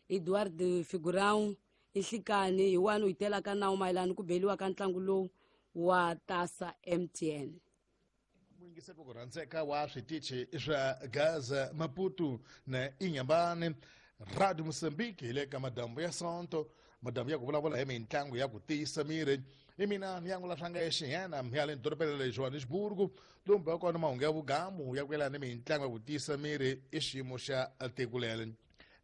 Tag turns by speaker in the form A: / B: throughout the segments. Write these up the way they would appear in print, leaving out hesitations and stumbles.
A: Eduardo Figurão i nhlikani hi wani u yi telaka nawu mayelana ku beliwa ka ntlangu lowu wa Tasa MTN.
B: Muyingiseri ku rhandzeka wa switichi swa Gaza, Maputo na Inhambane, Radio Mozambique hi le ka madambu ya Sonto, madambu ya ku vulavula hi mitlangu ya ku tiyisa miri. Hi mina ni yangula swanga exiyena ya le dorobeni ra le Johannesburg, lomba kona mahungu ya vugamu ya ku yelana ni mitlangu ya ku tiyisa miri i xiyimo xa tiko leri.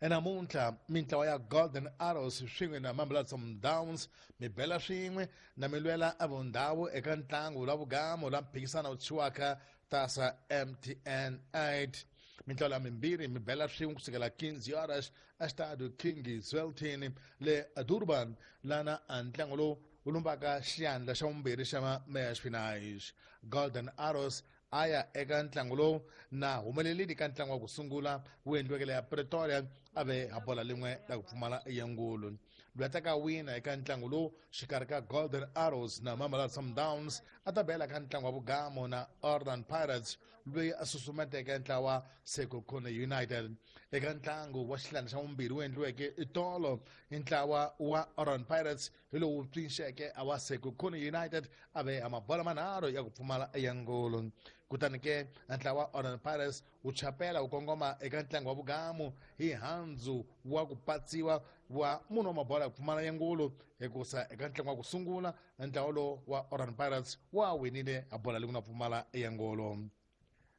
B: Namuntlha mintlawa ya Golden Arrows swin'we na Mamelodi Sundowns mi bela swin'we na mi lwela evundhawu eka ntlangu la vugamu la mphikisano wu thyiwaka Tasa MTN 8. Mintlawa la mimbirhi mi bela swin'we kusukela 15 horas eStadio King Zwelithini le Durban, lana ntlangu lowu wu lumbaka xiyandla xa vumbirhi xa match finals. Golden Arrows a ya eka ntlangu lowu na humelelini ka ntlangu wa ku sungula wu endliweke le ya Pretoria, a ve ha bola lin'we la ku pfumala yangulu. Loyi a ta wina eka ntlangu lowu xikarhi ka Golden Arrows na Mamelodi Sundowns a ta bela ka ntlangu wa vugamo na Orlando Pirates, loyi a susumeteke ntlawa Sekhukhune United. Eka ntlangu wa xihlanu xa vumbirhi wu endliweke itolo, ntlawa wa Orlando Pirates hi lowu pfinxeke a wa Sekhukhune United a ve a mabola manharhu ya ku pfumala ya ngolo. Kutani ke ntlawa wa Orlando Pirates wu chapela wu kongoma eka ntlangu wa vugamu hi handzu wa ku patsiwa wa munhu wa mabola ya ku pfumala ya ngolo, hikusa eka ntlangu wa ku sungula ntlawa lowu wa Orlando Pirates wa winile a bola leyi ku nga pfumala ya ngolo.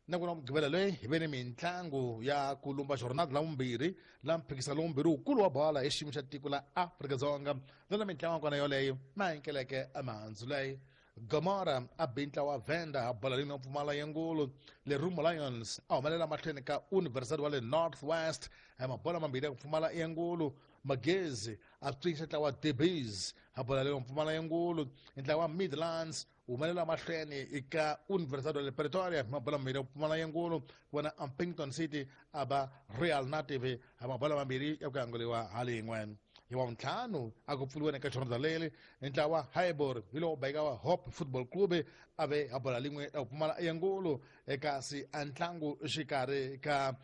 B: Na ku na mugqivela leyi hi ve ni mitlangu ya ku lumba jornada la vumbirhi la mphikisano lowu wukulu wa bola hi xiyimo xa tiko la Afrika-Dzonga, lana mitlangu ya kona yoleyo ma enkeleke emihandzu leyi. Gomora a bi ntlawa wa Venda ha bola leyi nga pfumala ya ngolo. Lerumo Lions a humelela mahlweni ka University wa le North West hi mabola mambirhi ya ku pfumala ya ngolo. Magezi a pfinxa ntlawa wa Debis ha bola leyi nga pfumala ya ngolo. Ntlawa wa Midlands humelela mahlweni eka Universidade le Pretoria hi mabola mambirhi ya ku pfumala ya ngolo. Vona Upington City a ba Real Native hi mabola mambirhi ya ku anguriwa ha lin'we. Hi wa ntlhanu a ku pfuriweni ka jornada leri, ntlawa Highbury hi lowu beka wa Hope Football Club a ve ha bola lin'we ya ku pfumala ya ngolo. Kasi a ntlangu xikarhi ka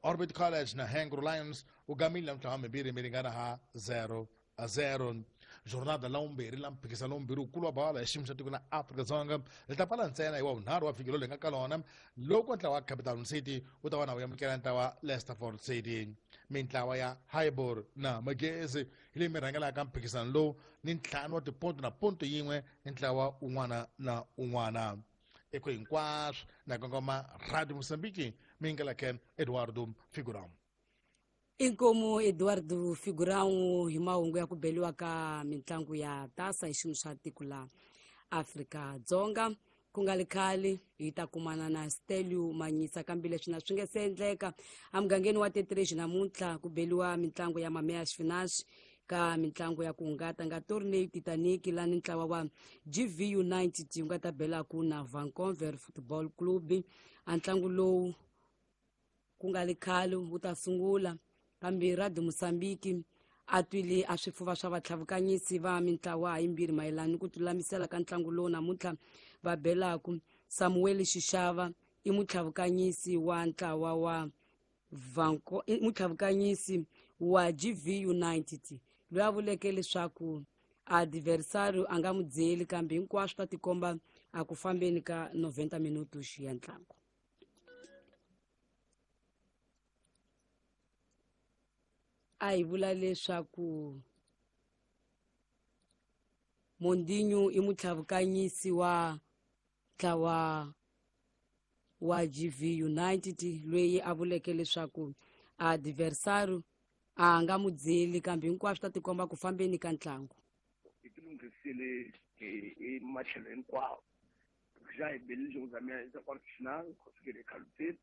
B: Orbit College na Hangru Lions wu gamile na mintlawa mimbirhi mi ringana ha 0-0. Jornada la vumbirhi la mphikisano lowu mbirhi wukulu wa bola hi xiyimo xa tiko la Afrika-Dzonga ri ta pfala ntsena hi wa vunharhu wa vhiki lowu hi nga ka lona, loko ntlawa wa Capital City wu ta va na wu amukela ntlawa Leicesterford City. Mintlawa ya Highbury na Magezi hi leyi mi rhangelaka mphikisano lowu ni ntlhanu wa tiponto na ponto yin'we ni ntlawa un'wana na un'wana. Eko hinkwaswo na kongoma Radio Mozambique, mi yingeleke Eduardo Figurão.
A: Inkomu Eduardo Figurão hi mahungu ya ku beliwa ka mitlangu ya Tasa hi xiyimo xa tiko la Afrika-Dzonga. Ku nga li khale hi ta kumana na Stelio Manyisa, kambe leswi na swi nge se endleka emugangeni wa Tetrage namuntlha ku beliwa mitlangu ya Mamea Xifinaxi ka mitlangu ya ku hungata nga Tornado Titanic, lani ntlawa wa GV United wu nga ta belaku na Vancouver Football Club. A ntlangu lowu ku nga li khale wu ta sungula, kambe Radio Mozambique a twile a swifuva swa vatlhavukanyisi va mintlawa yimbirhi mayelana ni ku tilulamisela ka ntlangu lowu namuntlha va belaku. Samuel Xixava i mutlhavukanyisi wa ntlawa wa Vanco, i mutlhavukanyisi wa GV United, loyi a vuleke leswaku adversario a nga n'wi byeli, kambe hinkwaswo ta tikomba a ku fambeni ka 90 minutos ya ntlangu. A hi vula leswaku Mondinho i mutlhavukanyisi wa ntlawa wa GV United, loyi a vuleke leswaku adversario a nga n'wi byeli, kambe hinkwaswo ta tikomba ku fambeni ka ntlangu.
C: Hi tilunghisile hi matlhelo hinkwawo. Já hi belile jogo za minha za quarto final, conseguir calutile.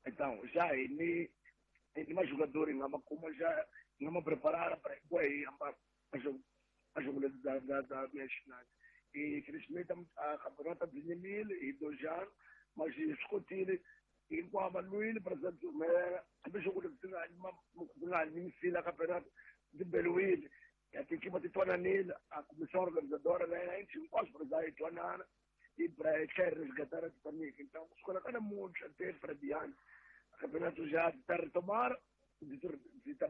C: Então, já hi ni ni majogador hi nga ma kuma, já hi nga ma preparar para hi hamba a jogo da minha final. E infelizmente a campeonato byi nyimile hi 2 anos, mas hi swi kotile hinkwavo va lwile para byi humelela, hambi jogo leti ti nga nyimisile campeonato byi beliwile ya tikipa ti twananile. A comissão organizadora na yena hinkwaswo para hi twanana e para tlhela resgatar a Titanic. Então, kusukela ka namuntlha até para diante, campeonato já está retomar, byi ta